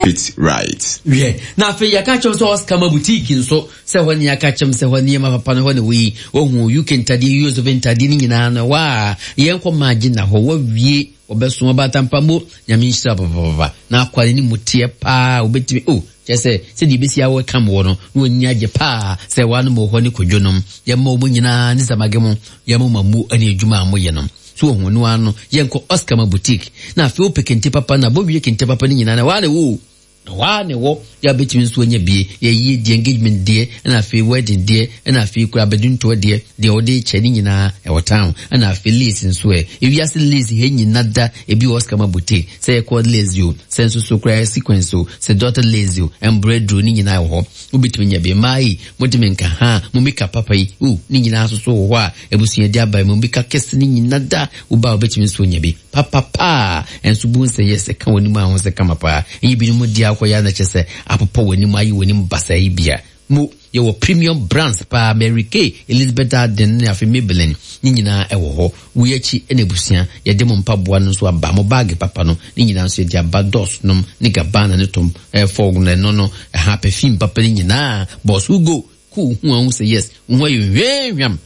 It right. Wiɛ, na afei yɛka kyerɛ sɛ Oscar ma boutique nso sɛ hɔ ne yɛaka kyerɛ sɛ hɔ nneɛma papa no hɔ na wɔyi wɔhu UK ntadeɛ, US of ntadeɛ no nyinaa no ɛhɔ a yɛnkɔ maagye na hɔ wɔawie wɔbɛso ɔbaatampa mo Nyame nhyira papapapa na akwa ne ne mu teɛ paa wobɛtumi o oh, kyerɛ sɛ sɛdeɛ ɛbɛsi awɔ kam wɔ no na wɔnyi agye paa sɛ wɔanom wɔ hɔ ne kwadwo nom yɛma wɔn nyinaa ne samage mo yɛma mo amu ne adwuma a moyɛ no. So wahu ɔno ara no yɛnkɔ Oscar ma boutique na afei wopɛ kente papa na bɔwie kente papa no nyinaa na waa na ɛwɔ o na waa na ɛwɔ yɛ abɛtumi nso anya bie yɛyie deɛ engagement deɛ ɛna afei wedding deɛ ɛna afei kura abɛduntoɔ deɛ deɛ wɔde kyɛ ne nyinaa ɛwɔ town ɛna afei lace nso ɛ ewiase lace hɛ nyina da ebi wɔ Oscar ma boutique sɛ yɛkɔ lace o sɛ nso so kura sequence o sɛ daughter lace o embroidery ne nyinaa wɔ hɔ wobɛtumi anya bi mmaa yi motumi nka ha mo makeup papa yi o ne nyinaa nso so wɔ hɔ a Abusua de aba mu bi ka kɛse no nyina da wo ba a wobɛtumi nso anya bi papapaa ɛnso bu nsɛ yɛ sɛ ka w'anim a ho sɛ kama paa ɛnyɛ binom di akɔ yɛ na kyɛ sɛ apopɔ w'anim ayɛ w'anim basaa yi bia mo yɛwɔ premium brands paa Mary Kay Elizabeth Arden ne afei Maybelline ne nyinaa ɛwɔ hɔ wei akyi ɛna abusua yɛde mo mpaboa no nso aba mo baage papa no ne nyinaa nso yɛde aba Dos nom ne Gabbana ne Tom eh, Ford no ɛno no ɛha perfume papa no nyinaa Boss Hugo Ko wo ho a wohu sɛ yes wo ho ayɛ hwamhwam.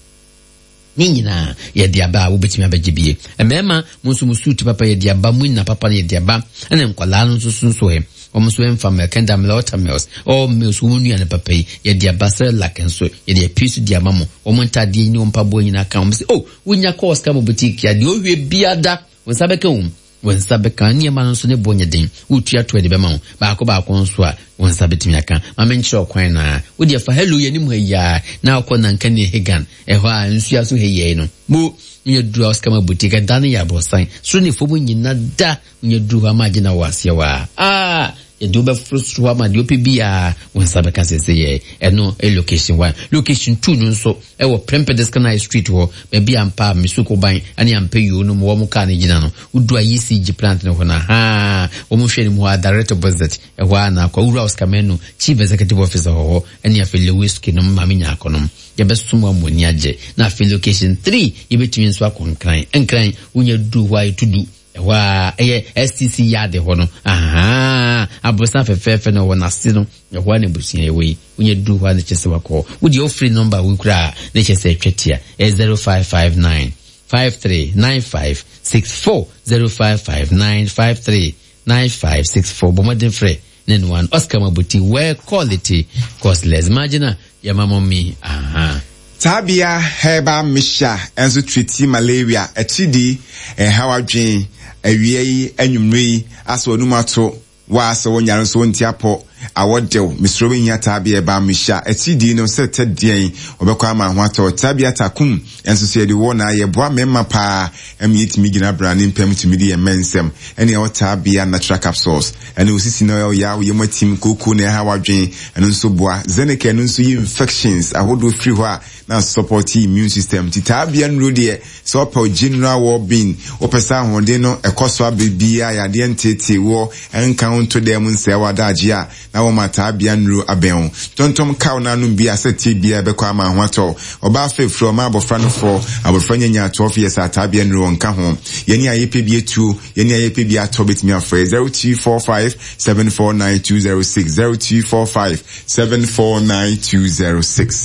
Ne nyinaa yɛde aba a wobɛtumi abɛgye bie. Mmarima mo nso mo suit papa yɛde aba, mo nna papa no yɛde aba, ɛna nkwadaa no nso so nso ɛ wɔn nso ɛmfa milk ɛnda milk water mills all mills wɔn nnuane papa yi yɛde aba Cerelac nso yɛde apue so de ama mo wɔn ntaadeɛ ne wɔn mpaboa nyinaa ka wɔn sɛ oh wonya kɔɔ sika mo boutique a deɛ ɔhwɛ biada wɔn nsa bɛka wɔn. Wo nsa bɛka. Nneɛma no nso ne bo nyɛ den. Wotua toɔ de bɛma wo. Baako baako nso a, wo nsa bɛtumi aka. Ma menkyerɛ wo kwan no ara. Wo deɛ fa hello yi anim ha yi ara na wokɔ Nankani Hegan, ɛhɔ a nsuo aso ha yi no. Mo, wonya duru Auskama Boutique, ɛda no yɛ aborɔsan. Soro ne fam nyina da. Wonya duru hɔ ama agye na wɔ aseɛ hɔ a. Ah! Yɛde wo bɛforo soro hɔ ama deɛ wopɛ biara wo nsa bɛka seesei. Ɛno yɛ location one. Location two no nso, Ɛwɔ Prempeh High Street hɔ, baabi a ampa a Misuko ban ne Ampɛ Yoo no mu wɔn kaa no gyina no. Wodu a ECG plant no hɔ no, ahaa, wɔn hwɛ anim hɔ a, direct opposite, ɛhɔ ara na akɔ. Owura Oscar Manu, Chief Executive Officer wɔ hɔ, ɛne afei Lewiski nom, Maame Nyarko nom. Yɛbɛsom wo ama w'ani agye. Na afei location three, yɛbɛtumi nso akɔ Nkran. Nkran, wonya duru hɔ a, ɛtu du. Ɛhɔ ara, ɛyɛ STC yard hɔ no, ahaa, aborosan fɛfɛɛfɛ no wɔ n'ase no, ɛhɔ ara na abusua yɛwɔ yi. Wonya duru hɔ a na kyerɛ sɛ wakɔ hɔ. Wo deɛ wofiri nɔmba wei koraa a, na kyerɛ sɛ atwa tia. Ɛyɛ 0559 5395 64, 0559 5395 64. Bɔ mmɔden frɛ ne noa no. Oscar Mabuti, well quality, costless. Imagine yɛma mo mi, ahaa. Tabia herbal mixture nso treati malaria, atiridii, ɛnhaw adwene, awia yi, anwummere yi, asɛ w'anum ato, wo a sɛ wonyare nso wonte apɔ, awɔ dew, mesrɛ wo hia Tabia herbal mixture, atiridii no sɛ tɛ deɛn, wɔbɛkɔ ama ho atɔ, Tabia takum nso so yɛde wɔ na yɛboa mmarima paa ɛma yɛtumi gyina brane mpam tumi di yɛn mma nsɛm, ɛne ɛwɔ Tabia natural capsules. Ɛne wo sisi na ɔyaw, yam atim, kooko na ɛhaw adwen, ɛno nso boa. Zeneca ɛno nso yi infections ahodoɔ firi hɔ a na support immune system. Nti taa bia nnuro deɛ sɛ ɔpɛ general well being, wopɛ sɛ ahoɔden no ɛkɔ so abere biara, yadeɛ nteetee woɔ, ɛnka wo nto dan mu nsɛe w'adagyeɛ a, na wɔma taa bia nnuro abɛn wo. Tontom kaw no anom bi a sɛ tie biara ɛbɛkɔ ama ho atɔ wo. Ɔbaa fefrɛ ɔma abɔfra no fɔ, abɔfra nya nya 12 years a taa bia nnuro ɔnka ho. Yɛne a yɛpɛ bi atuo. Yɛn a yɛpɛ bi atɔ bɛtumi afrɛ 0245 749 206, 0245 749 206.